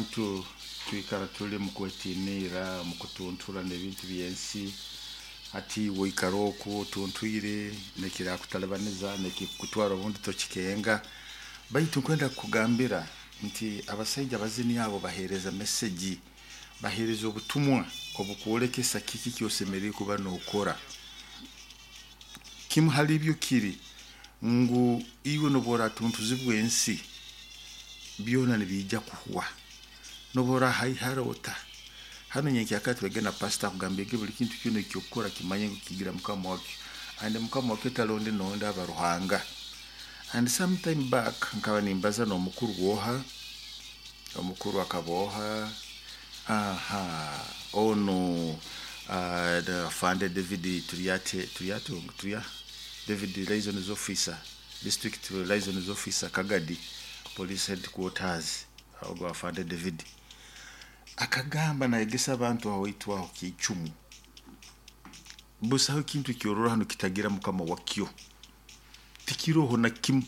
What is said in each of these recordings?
Abantu twikara tuli mu kwetiinirra, mu kutuntura n'ebintu by'ensi. Hati iwe oikara oku otuntwire, n'ekirakutalibaniza, n'ekikukutwara obundi tokikenga. Baitu nkwenda kukugambira nti abasaija abazini abo baheereza message, baheereza obutumwa obukwolekesa kiki ky'osemeriire kuba nookora. Kimu hali ibyo kiri ngu iwe n'obu oratuntuzibwa ensi, byona nibiija kuhwa. N'obu orahaihara ota, hanu nyenkyakara tubege na pastor akugambire buli kintu kyona eky'okukora kimanye ngu kigira mukama wakyo, and mukama wakyo tali ondi n'ondi aba Ruhanga. And some time back nkaba nimbaza n'omukuru woha, omukuru akaba oha, aha, onu the Afande David Turyate, Turyate, Turya, David Liaisons Officer, District Liaisons Officer, Kagadi Police Headquarters, ogu Afande David. Akagamba nayegesa abantu aho waitu aho Kiicumu. Busaho ekintu ekyorora hanu kitagira mukama wakyo. Tikiroho na kimu.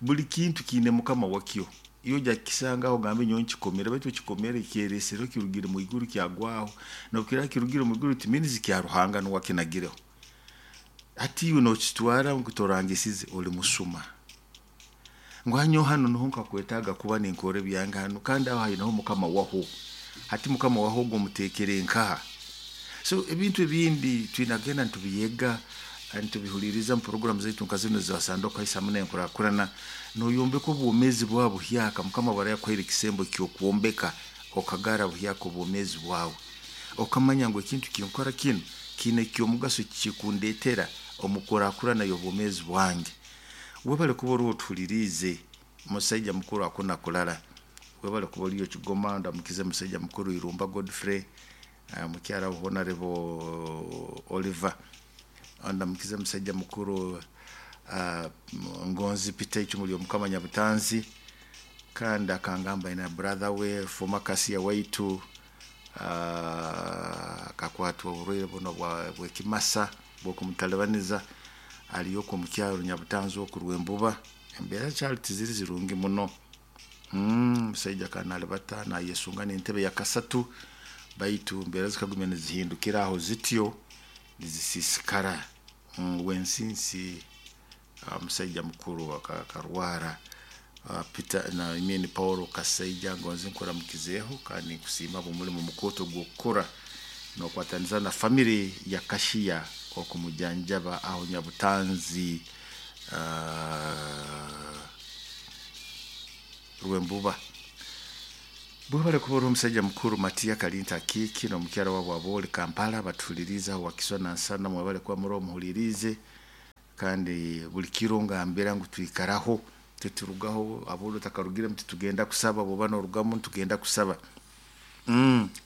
Buli kintu kiine mukama wakyo. Iwe ojja kukisangaho ogambe nyowe nkikomere, baitu okikomere kyeresereho kirugire mwiguru kyagwaho. N'obu kiraba kirugire mwiguru it means kya Ruhanga nuwe akinagireho. Hati iwe nokitwara ngu torangisize oli musuma. Ngu hanyowe hanu nuho nkakwetaaga kuba ninkora ebyange hanu kandi aho haineho mukama waho. Hati mukama waho ogu omuteekere nkaha? So ebintu ebindi twine kugenda nitubyega, nitubihuliiriza mu puroguramu zaitu nka zinu eza Sanduku Haisa hamu n'Enkurakurana, noyombeka obwomeezi bwawe buhyaka. Mukama obu araba yakuhaire ekisembo ky'okwombeka, okagara buhyaka obwomeezi bwawe. Okamanya ngu ekintu kinkora kinu kiine eky'omugaso kikundetera omu kurakurana y'obwomeezi bwange. Webale kuba ori otuhuliriize, musaija mukuru hakuna kulala. Webale kuba oriyo Kigoma, ndamukize musaija mukuru Irumba Godfrey, mukyara we Honorable Oliver. Ndamukize musaija mukuru Ngonzi Peter Icumu ly'Omukama Nyabutanzi, kandi akangamba aine brother we former cashier waitu, akakwatwa oburwaire bunu bw'ekimasa bw'okumutalibaniza, aliyo oku omu kyaro Nyabutanzi oku Rwembuba. Embeera kyali tiziri zirungi muno. Omusaija akaba nalibata nayesunga n'entebe ya kasatu, baitu embeera zikagumya nizihindukira aho zityo nizisiisikara. Wensinsi omusaija mukuru akarwara, Peter I mean Paul Kasaija ngonze nkuramukizeeho kandi ninkusiima habw'omulimo mukooto ogw'okukora nokwataniza na family ya Kashiya okumujanjaba aho Nyabutanzi Rwembuba. Bwebale kuba ori omusaija mukuru Matiya Kalinta Akiiki n'omukyara waabo Abooli Kampala batuhuliriize aho Wakiso Nansana, mwebale kuba muri omuhuliriize kandi buli kiro ngambira ngu twikaraho titurugaho, Abooli otakarugiremu titugenda kusaba, bw'oba norugamu nitugenda kusaba.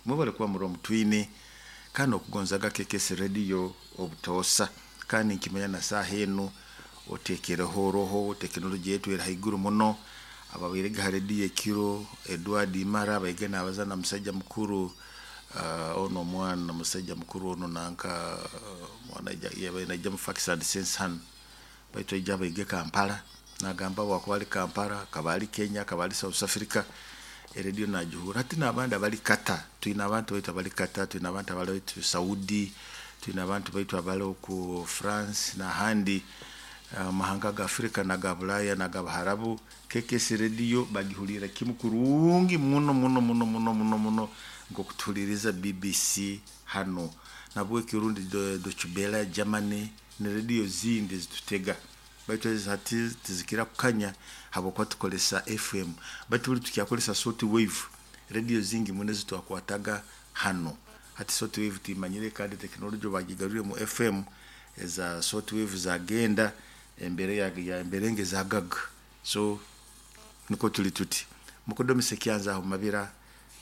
Mwebale kuba muri omutwine kandi n'okugonzaga KKS Radio obutoosa, kandi ninkimanya na saaha enu oteekereho oroho, tekinologi yaitu eri haiguru muno. Ababairege ha rediyo ekiro, Edward Imara abaige nabaza na musaija mukuru onu omwana musaija mukuru onu nanka omwana yabaire naija mu Facts and Sense hanu, baitu aija abaige Kampala, nagamba obu akuba ali Kampala, akaba ali Kenya, akaba ali South Africa, erediyo nagihurra. Hati n'abandi abali Qatar, twine abantu baitu abali Qatar, twine abantu abali baitu Saudi, twine abantu baitu abali oku France n'ahandi omu mahanga ga Africa n'aga Bulaaya n'aga Buharabu, KKS Radio bagihulirra kimu kurungi muno muno muno muno muno muno nk'oku tuhuliiriza BBC hanu. Nahabweki rundi Deutsche Welle Germany na rediyo ezindi ezitutega, baitu ezi hati tizikira kukanya habwokuba tukozesa FM, baitu buli tukyakozesa short wave, rediyo zingi muno ezitwakwataga hanu. Hati short wave tuimanyire kandi tekinologi obu bagigarwire mu FM, eza short wave zagenda, embeera emberenge zagaga. So nukwo tuli tuti. Mukudomi Sekyanza aho Mabira,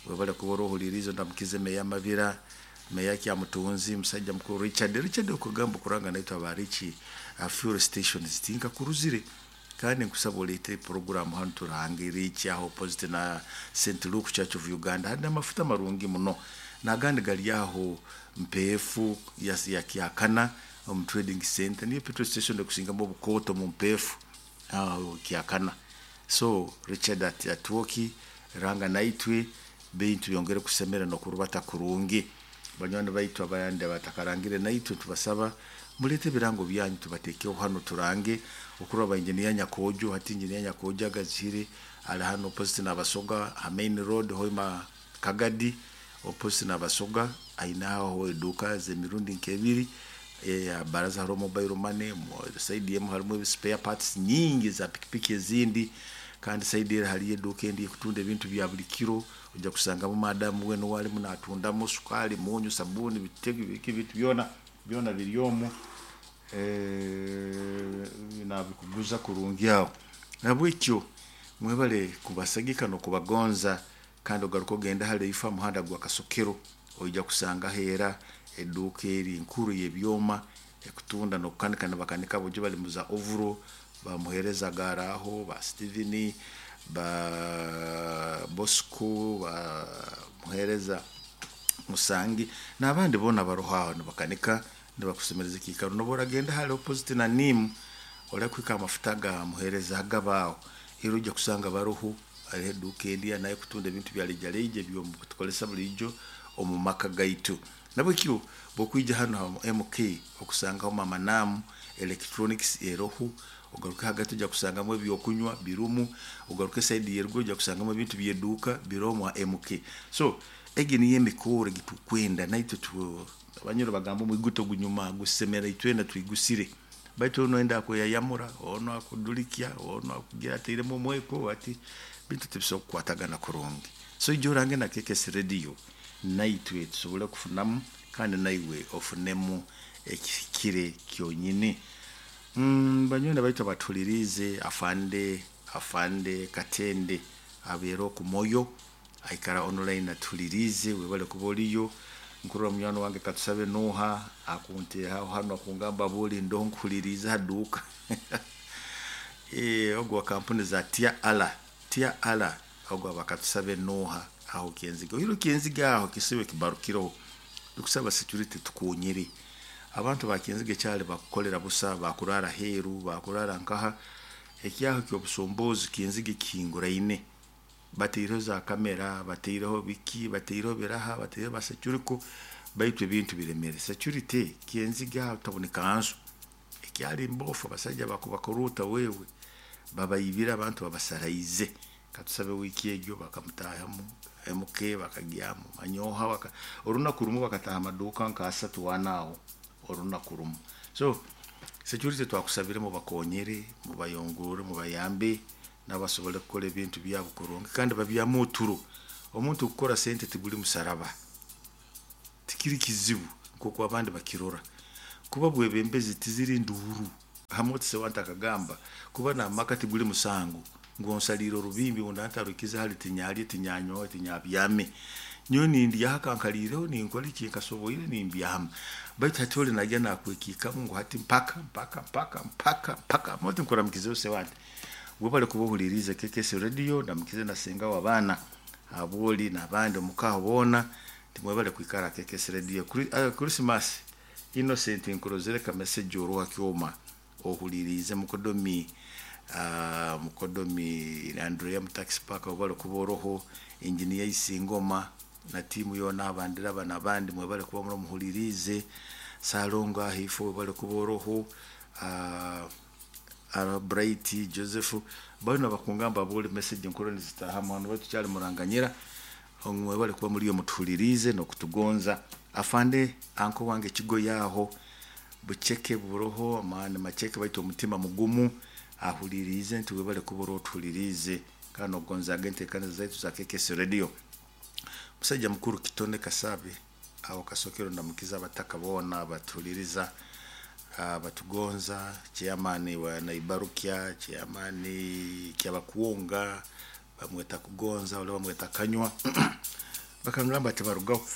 webale kuba orohuliriize ondamukize Meya Mabira, Meya Kyamutunzi, musaija mukuru Richard. Richard okugamba okuranga naitwe aba Rich fuel stations tinkakuruzire, kandi nkusaba oleete puroguramu hanu turange Rich aho opposite na St Luke Church of Uganda. Hariho amafuta marungi muno n'agandi gari aho Mpeefu ya Kyakana omu trading center, niyo petrol station ekusingamu obukooto omu Mpeefu aho Kyakana. So Richard Atwoki, Ranga naitwe bintu byongere kusemera n'okurubata kurungi. Banywani baitu abandi abatakarangire naitwe, tubasaba mulete ebirango byanyu tubatekeho hano turange. Okurora ba engineer Nyakojo, hati engineer Nyakojo agazire ali hano opposite n'Abasoga ha main road, Hoima Kagadi, opposite n'Abasoga, ainaho eduuka z'emirundi nk'ebiri. Baraza hariho mobile money, side emu harimu spare parts nyingi za pikipiki ezindi, kandi side eri hariyo eduuka endi ekutunda ebintu bya buli kiro. Ojja kusangamu madamu we nuwe alimu natundamu sukaali, munyu, sabuuni, bitege biki, ebintu byona byona biri omu, nabikuguza kurungi aho. Nabwekyo mwebale kubasagika n'okubagonza. Kandi ogaruka ogenda hali ifa muhanda gwa Kasokero, oija kusangaho era eduuka eri nkuru y'ebyoma ekutunda n'okukanika, nibakanika bojo bali muza ovuro, bamuhereza garaho ba Steven, ba Bosco, ba muhereza Musangi n'abandi boona baroho aho nibakanika, nibakusemereza ekiikaro. Noba oragenda hali opposite na NIM, orakuhika amafuta ga muhereza gabaaho, era ojja kusanga baroho. Hariho eduuka endi nayo kutunda ebintu bya rejareja ebyotukozesa buliijo omu maka gaitu. Nabwekyo bwokwija hano ha MK okusangaho Mama Nam Electronics eroho, ogaruke hagati ojja kusangamu ebyokunywa birumu, ogaruke side yeruguru ojja kusangamu ebintu by'eduuka biromu ha MK. So egi niyo emikoro egitukwenda naitwe. Abanyoro bagamba omwiguto gunyuma gusemera, itwena twigusire, baitu ono enda akweyayamura, ono akudulikya, ono akugira atairemu omweko ati bintu tibisobola kukwatagana kurungi. So ija orange na KKS Radio, naitwe tusobole kufunamu kandi naiwe ofunemu ekihikire kyonyini. Banywani baitu abatuhuliriize, afande Katende abeera okumoyo, aikara online atuhuliriize, webale kuba oliyo. Nkurora munywani wange Katusabe Nuha akuntehaho hano akungamba buli ndoho nkuhuliriize ha duuka. Ogwo wa kampuni za Tia Ala, Tia Ala, ogwo aba Katusabe Nuha aho Kyenziga. Oiro Kyenziga aho kisibe kibarukireho, tukusaba security tukonyere abantu ba Kyenziga, ekyali bakukolera busa, bakurara heru, bakurara nkaha ekyaho ky'obusumbuzi. Kyenziga kihinguraine, bataireho za kamera, bataireho biki, bataireho biraha, bataireho ba security, baitu ebintu biremere. Security Kyenziga aho taboneka nzu ekyali mbofu, abasajja bakubakuruta wewe babayibira, abantu babasaraize. Katusabe wiiki egyo bakamutahamu MK, bakagyamu manyoha, orunaku rumu bakataha amaduuka nka asatu wanaaho orunaku rumu. So security twakusabire mubakonyere, mubayongore, mubayambe nabasobole kukora ebintu byabo kurungi kandi babyamu oturo. Omuntu kukora sente tiguli musaraba, tikiri kizibu nkoku abandi bakirora. Kuba bwebembezi tiziri nduuru. Hamwe tisewanta akagamba kuba namaka tiguli musango, ngu onsaliire orubimbi ngu ndantarukize hali tinyalye, tinyanyowe, tinyabyame, nyowe nindyaho akankaliireho, ninkora eki nkasoboire, nimbyama. Baitu hati oli najya nakwekikamu ngu hati mpaka mpaka mpaka mpaka mpaka moti. Nkuramukizeho sewante, webale kuba ohuliriize KKS Radio. Ndamukize na senga w'abaana aboli n'abandi omukaho boona, timwebale kwikara KKS Radio. Christmas Innocent, nkurozere ka message oruha kyoma ohuliriize. Mukodomi, mukodomi Andrea mutaxi park, webale kuba oroho. Engineer Isingoma na tiimu yoona, abandiraba n'abandi, mwebale kuba muri muhuliriize. Salongo ahaifo, webale kuba oroho. Bright Joseph, bano bakungamba buli message nkuru nizitahamu hano, baitu kyali muranganyira, mwebale kuba muri mutuhuliriize n'okutugonza. Afande anko wange kigo yaho bucheke buroho amani macheke, baitu omutima mugumu, ahuliriize nti webale kuba otuhuliriize kandi ogonzaga enteekaniza zaitu za KKS Radio. Musajja mukuru Kitone Kasabe aho Kasokero, ndamukiza abataka boona batuhuliriza, batugonza. Chairman wa Naibarukya, chairman Kyabakuwonga, bamweta Kugonza, ole bamweta Kanywa, bakangamba ati barugaho.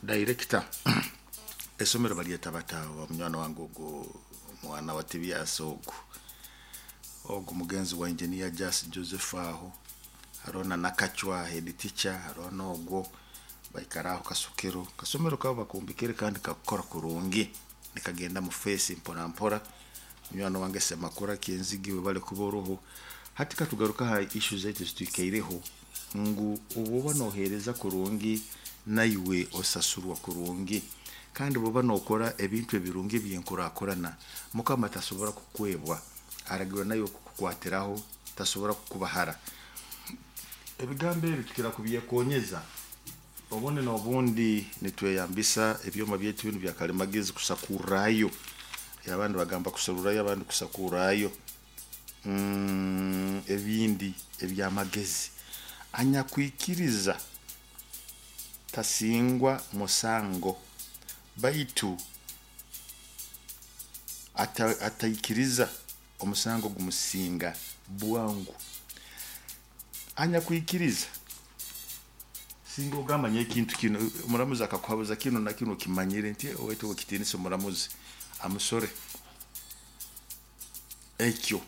Director esomero balyeta batawa munywani wange ogwo, mwana wa Tibias, ogwo mugenzi wa engineer Jas Joseph aho, hariho na Nakachwa head teacher, hariho n'ogwo baikara aho Kasokero. Kasomero kabo bakumbikire kandi kakukora kurungi, nikagenda mu face mpora mpora. Munywani wange Semakura Kyenzigiwe, bale kuba oruhu. Hati katugaruka ha ishu zaitu zitwikaireho ngu obuba noheereza kurungi naiwe osasurwa kurungi, kandi bwoba nokora ebintu ebirungi ebyenkurakurana, Mukama tasobora kukwebwa, aragirwa nawe kukukwatiraho, tasobora kukubahara. Ebigambo ebi tukira kubyekonyeza obundi n'obundi nitweyambisa ebyoma byaitu binu bya kalimagezi kusakurrayo, abandi bagamba kuserurayo, abandi kusakurrayo ebindi ebyamagezi. Anyakwikiriza tasingwa musango, baitu ataikiriza omusango gumusinga bwangu. Anyakwikiriza singa ogamba nyowe ekintu kinu, omuramuzi akakuhabuza kinu na kinu, okimanyire nti owaitu owekitiinisa omuramuzi amusore, ekyo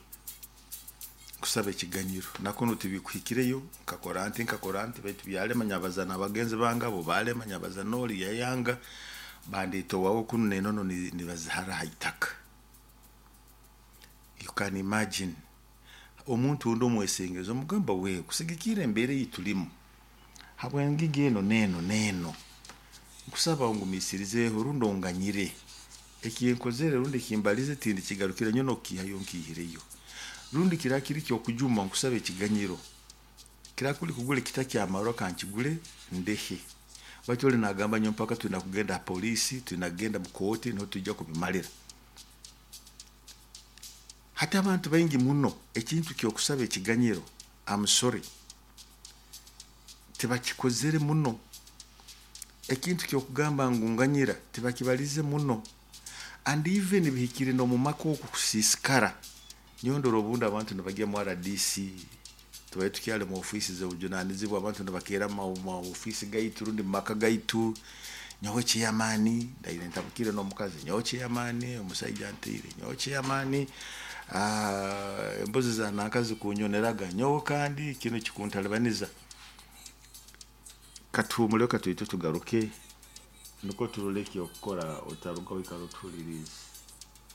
kusaba ekiganyiro nakunu tibikuhikireyo, nkakora nti nkakora nti baitu byalema, nyabaza n'abagenzi bange abo balema, nyabaza n'oli yayanga, bandeeta owaawe kunu n'enono nibazihara ha itaka. You can imagine omuntu ondi omwesengereza omugamba, wewe kusigikirra embeera ei tulimu habw'engigi eno n'eno n'eno, nkusaba ongumiisirizeeho rundi onganyire ekinkozere rundi ekimbalize tindikigarukira, nyowe n'okukiihayo nkiihireyo, rundi kiraba kiri ky'okujuma nkusaba ekiganyiro, kiraba kuli kugura ekita ky'amarwa kankigule ndehe. Baitu oli nagamba nyowe mpaka twina kugenda ha poliisi, twina kugenda mu kooti niho twija kubimalira. Hati abantu baingi muno ekintu ky'okusaba ekiganyiro amusore tibakikozere muno, ekintu ky'okugamba ngu nganyira tibakibalize muno, and even bihikire n'omu maka oku kusiisikara. Nyowe ndora obundi abantu nibagya mu RDC, tubaire tukyali mu ofiisi z'obujunanizibwa, abantu nibakeera mu ofiisi gaitu rundi mu maka gaitu, nyowe chairman ndaire ntabukire n'omukazi, nyowe chairman omusaija antiire, nyowe chairman embuzi za nanka zikunyoneraga, nyowe kandi kinu kikuntalibaniza. Katuhumuleho katoito tugaruke nukwo turole eky'okukora, otaruga oikara otuhuliriize.